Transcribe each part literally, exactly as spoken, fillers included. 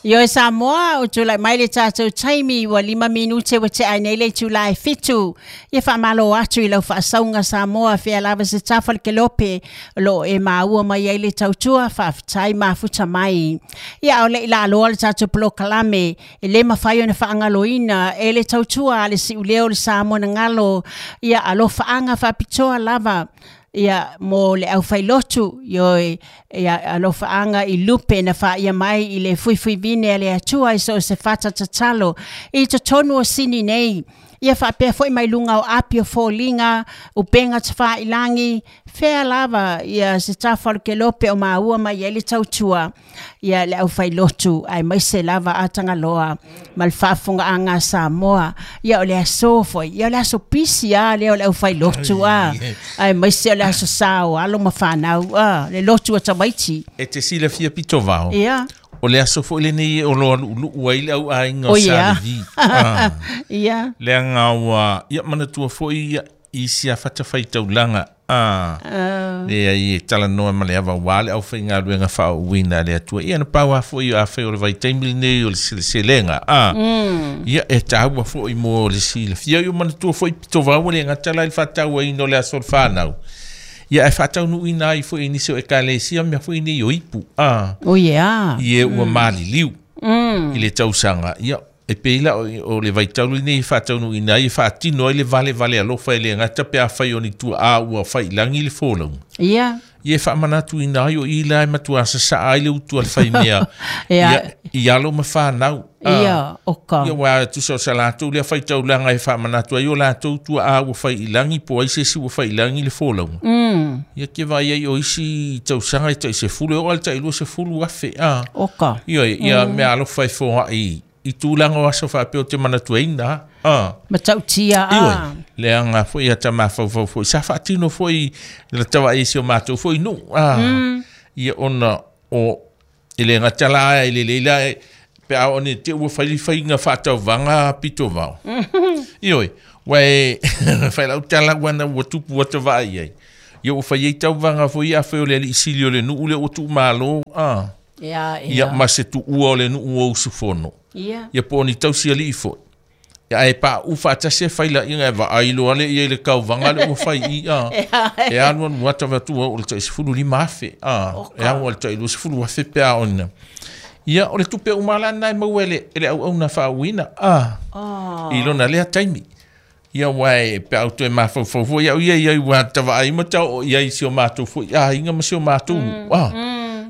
Ioe Samoa, o tulai mai le tatou taimi ua lima minute ua tea ai nei le itula e fitu. Ia faamalo atu i lau faasauga Samoa fea lava se tafa o le kelope o loo e maua mai ai le tautua faafetai mafuta mai. Ia ao le i laaloa le tatou polokalame e le mafai ona faagaloina e le tautua a le siuleo o le Samoa na galo. Ia alofaaga faapitoa lava ia mo le aufailotu ioe ia alofaaga i lupe na faia mai i le fuifuivine a le Atua i so o se fata tatalo i totonu o Sini nei. Ia faapea foi mai luga o api o foliga, upega tafailagi, fea lava ia se tafa o le kelope o maua mai ai le tautua ia le aufailotu aemaise lava a Tagaloa ma le faafofogaaga a Samoa. Ia o le aso foi, ia o le aso pisi a lea o le aufailotu a, aemaise o le aso sa o alo ma fanau a, le lotu a tamaiti. E te silafia pito vao. Ia. O le aso foi lenei o loa lu'ulu'u ai le au aiga o O ia. Sa Levi. Ah. Ia. Leaga ua ia manatua foi ia i isi fatafaitaulaga ah. Leai e talanoa ma le ava ua le aufaigaluega faaauuina a le Atua. Ia na pau lava foi afai o le vaitaimi lenei o le seleselega ah. Ia e taua foi mo le silafia. Ia manatua foi pito vao ua le gata la i le faatauaina o le aso o le fanau. Ia ae faataunuuina ai foi i nisi o ekalesia mea foi nei o ipu ah. O ia. I e ua maliliu i le tausaga. Ia e pei la o, o le vaitau lenei e faataunuuina ai e faatino ai le valevale alofa e le gata pe afai o ni tuaa ua failagi le folauga. Ia. Ia e faamanatuina ai o i la e matua sasaa ai le utu a le faimea. Ia. Ia, i alo ma fanau. Ah. Ia, oka. Ia ua tusa o sa latou lea faitaulaga e faamanatu ai o latou tuaa ua failagi po o ai se isi ua failagi le folauga. Mm. Ia ke vaai ai o isi tausaga e tai sefulu e oo lava i le tai luasefulu afe ah. Oka. Ia, ia mea alofa e foai i tulaga o aso faapea o te manatuaina ah. Matautia Ioe, a. leaga foi ia tamafaufau foi sa faatino foi le tavaai i si o matou foi nuu ah. Ia ona o e le gata la e lelei la e pe a o ni te ua fai faiga faatauvaga pito vao. Ioe, ua e fai lau tala ua na ua tupu ua tavaai ai. Ia ua fai ai tauvaga foi afai o le alii sili o le nuu lea ua tuumalo ah. Ia, Ia ia. ma se tuua o le nuu o usufono. Ia. Ia po o ni tausialii foi. Ia ae pauu faatasi e fai laiga e vaai loa le ia i le kauvaga le ua fai i a. E alu alu ata vatua o le tai sefulu lima afe a. E alu le tai luasefulu afe pe a ona. Ia o le tupe uma la lena e maua e le, e le auauna faauuina a. Oh. I lona lea taimi. Ia ua e pe au toe mafaufau foi au ia ia ua tavaai ma tau o ia i si o matou foi aiga ma si o matou nuu a.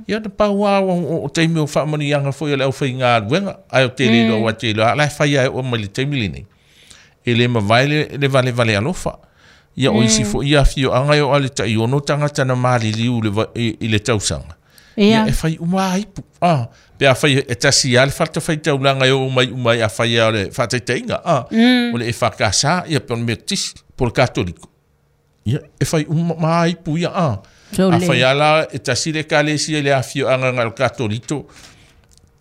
Ia na pau lava o, o taimi o faamanuiaga foi o le aufaigaluega ae o tele iloa ua te iloa la e fai ai oo mai le taimi lenei. E le mavae le, le valevale alofa. Ia o isi foi ia afioaga e oo lava i le tai ono tagata na maliliu i le, va- i, i le tausaga. Ia. Ia e fai uma lava ipu. Ah, pe afai e tasi lava le fatafaitaulaga e oo mai uma ai afai lava o le faataitaiga. Ah, o le E F K S ia pe o le Metotisi po o le Katoliko. Ia e fai uma ma ipu ia. Ah. Sole. Afai lava la e tasi le ekalesia i le afioaga na o le Katolito.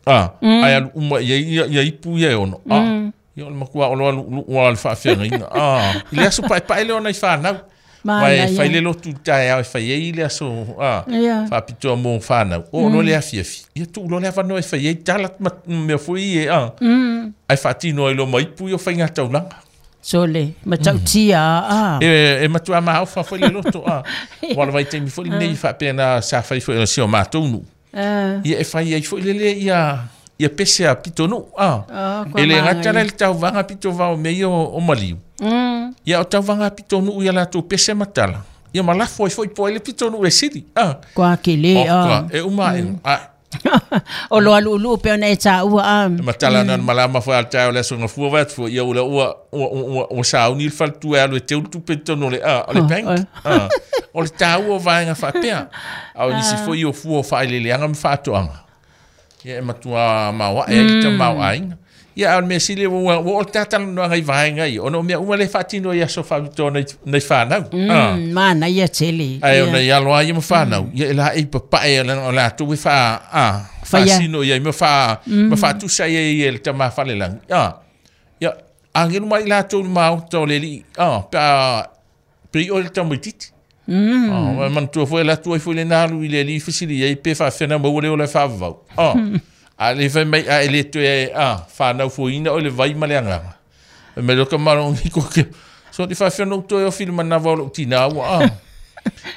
Ah, ae alu uma i ai ia, ia ipu ia e ono. Ah. Ia o le matua o loa lu'ulu'u lava o le faafeagaiga. Ah, i le aso paepae lea o nai fanau. Manaia. Vai fai le lotu i le taeao e fai ai le aso ah, Ia. faapitoa mo fanau. Oo loa le afiafi. Ia tuu loa le avanoa e fai ai tala ma mea foi e ah. Ae faatino ai loa ma ipu ia o faigataulaga. Sole, matautia a. E, e matua maofa foi le loto ah. Ua le vaitaimi foi lenei faapea sa fai foi o si o matou nuu. Ah. Ia e fai ai foi lele ia ia pese a pitonuu ah. Ah, kua E le gata la manaia. i le tauvaga pito vao mea ia o, o maliu. Mm. Ia o tauvaga a pitonuu ia latou pese ma tala. Ia ma lafo ai foi po ai le pitonuu e sili. Ah. Kua kele O, a. kua, e uma mm. Ah, O loa lu'ulu'u pe ona e taua a. e matala na malama foi al tae o le aso gafua vai atu foi ia ula ua ua ua ua sauni le faletua e alu e teu le tupe i totonu o le ah, o le Oh, bank. oh. Ah. O le taua o vaega faapea. A o nisi foi o fua o faaeleeleaga ma faatoaga. Ia e matua maoae ai le tamaoaiga. Ia a o le mea sili ua ua oo le tatalanoaga i vaega ia ona o mea uma lea e faatino i aso faapitoa nai nai fanau. Ah. Mm, manaia tele. Ae Ia. ona i alo ai ia ma fanau, ia e laei papae o latou e faa, ah, Faia. faasino i ai ma faa, ma faatusa i ai e le tama falelagi. Ah, ia, agelu mai latou i le maota o le alii, ah, pe a, pe i oe le tamaititi. Mm. Ah, ma manatua foi e alu atu ai foi le na alu i le alii fesili ai pe faafena maua le ola e faavavau. Ah, A le fai mai a ele toe a whanau fuina o le vai ma le anganga. E me loka marongi koke. So te whawhia toe o fili manawa o lo tina ua a.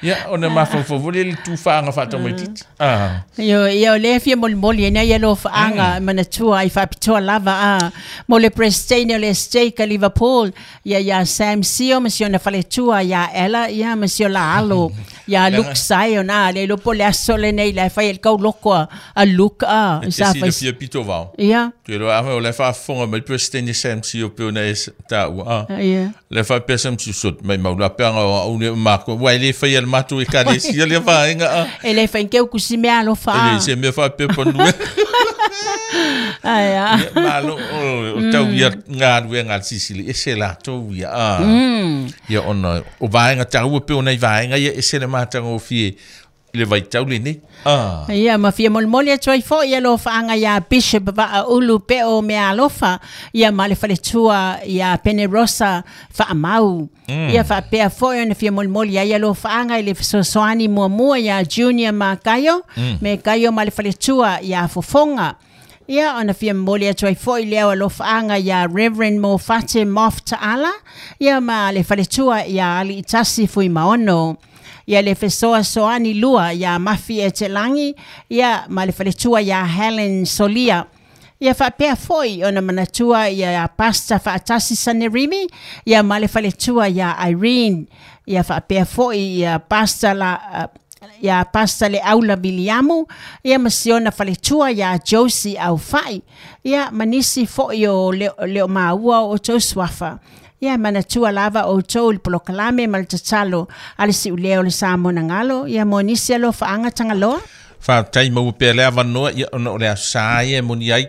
Ia, ona mafaufau le le tufaga faatamaititi. Ah. Io, ia o lea fia molimoli ai ia alofaaga manatua ai faapitoa lava a mo le President o le Stake a Liverpool, ia ia Sam Sio ma si ona faletua ia Ella, ia ma si ola alo, ia Luke Sion a le lopo le aso lenei le fai el kau loko a, a Luke a. E Sa te fai silafia pito vao. Ia. Toe loa afa o le faafofoga mai President Sam Sio pe ona e taua a. Ia. Le faapea Sam Sio sot mai maula peaga o au le mako. Ua e le faia le matou ekalesia lea vaega a. E le fai keu kusi mea alofa E a. le se mea faapea panue. Ai a. Ia, malo o o tau ia galuega a le Sisili ese latou ia a. Ia ona o vaega taua pe ona i vaega ia ese le matagofie i le vaitau lenei. Ah. Ia, ma fia molimoli atu ai foi ia alofaaga iā Bishop Vaaulu Peo Meaalofa, ia ma le faletua ia Penerosa Faamau. Ia faapea foi ona fia molimoli ai alofaaga i le fesoasoani muamua iā Junior ma Kaio, me Kaio ma le faletua iā Fofoga. Ia, ona fia momoli atu ai foi lea o alofaaga iā Reverend Mofate Mof Taala, ia ma le faletua iā Aliitasi Fuimaono. Ia le fesoasoani lua ia Mafi e te langi, ia ma le faletua ia Helen Solia. Ia faapea foi ona manatua ia Pasta Faatasi Sanerimi, ia ma le faletua ia Irene. Ia faapea foi ia Pasta la, ia Pasta le Aula Viliamu, ia ma siona faletua ia Josie Aufai. Ia manisi foi o leo, leo maua o tou suafa. Ia manatua lava o tou le polokalame ma le tatalo a le siulea o le Samoa galo, ia mo nisi alofaaga tagaloa. Faafetai maua pea le avanoa ia ona o le aso sa ia e moni ai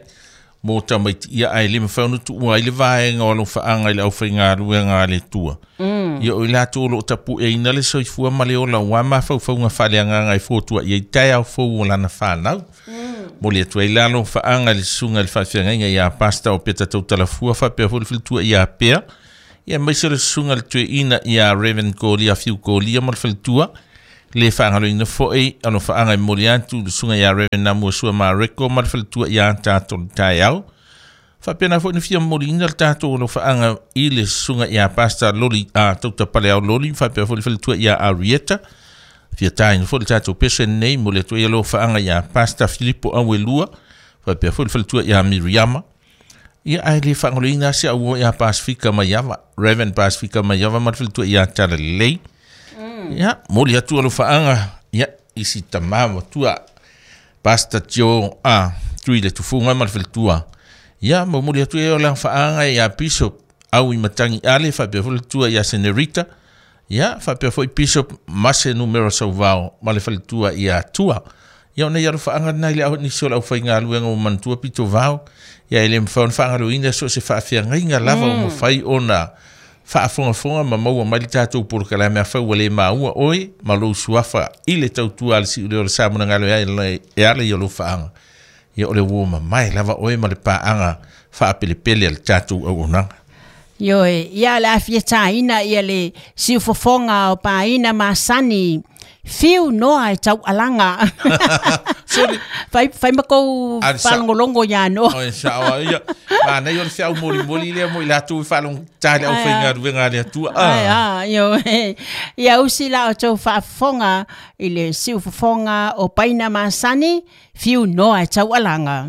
mo tamaiti ia ae le mafai ona tuua ai le vaega o alofaaga i le aufaigaluega a le Atua. Ia o i latou o loo tapueina le soifua ma le ola ua mafaufauga faaleagaga e fotuai ai taeao fou o lana fanau. Mo le atu ai le alofaaga i le susuga i le faafeagaiga ia Pasta o Peta Tautalafua faapea foi le faletua ia Pea. Ia maise le susuga le tueina ia Reverend Kolia Fiu Kolia ma le faletua. Le faagaloina foi alofaaga e momoli atu le susuga ia Reverend Namuasua Mareko ma le faletua ia tatou le taeao. Faapena foi na fia momoliina le tatou alofaaga i le susuga ia Pastor Loli a Tautapaleao Loli faapea foi le faletua ia Arieta. Fia taina foi le tatou pese nei mo le atu ai alofaaga ia Pastor Filipo Auelua faapea foi le faletua ia Miriama. Ia ae le faagaloina se au ia Pasifika Maiava, Reverend Pasifika Maiava ma le faletua ia Talalelei. Ia, momoli atu alofaaga ia i si tamā matua Pastor Joe a Tui le Tufuga ma le faletua. Ia, momoli atu e o lafaaga ia Bishop au i Matangi Ale faapea foi le faletua ia Senerita. Ia, faapea foi Bishop Mase Numero Sauvao ma le faletua ia Tua. Ia ona ia alofaaga lena i le au nisi o le aufaigaluega ua manatua pito vao. Ia e le mafai ona faagaloina so o se faafeagaiga lava o mafai ona faafogafoga ma maua mai le tatou polokalame afai ua le maua oe ma lou suafa i le tautua a le siulea o le Samoa galo e ala i alofaaga. Ia o le ua mamae lava oe ma le paaga faapelepele a le tatou auaunaga. Ioe, ia le afia taina ia le siufofoga o paina masani. Fiu noa e tau alanga. Sorry. Fai, fai makou Ari sa- faalogologo ia noa. Oi, sa- ia. Manaia o le feau molimoli lea mo i latou i faalogotā le aufaigaluega a le Atua. Ai, Ah. a, ioe. Ia usi la o tou faafofoga i le siufofoga o paina masani, fiu noa e tau alanga.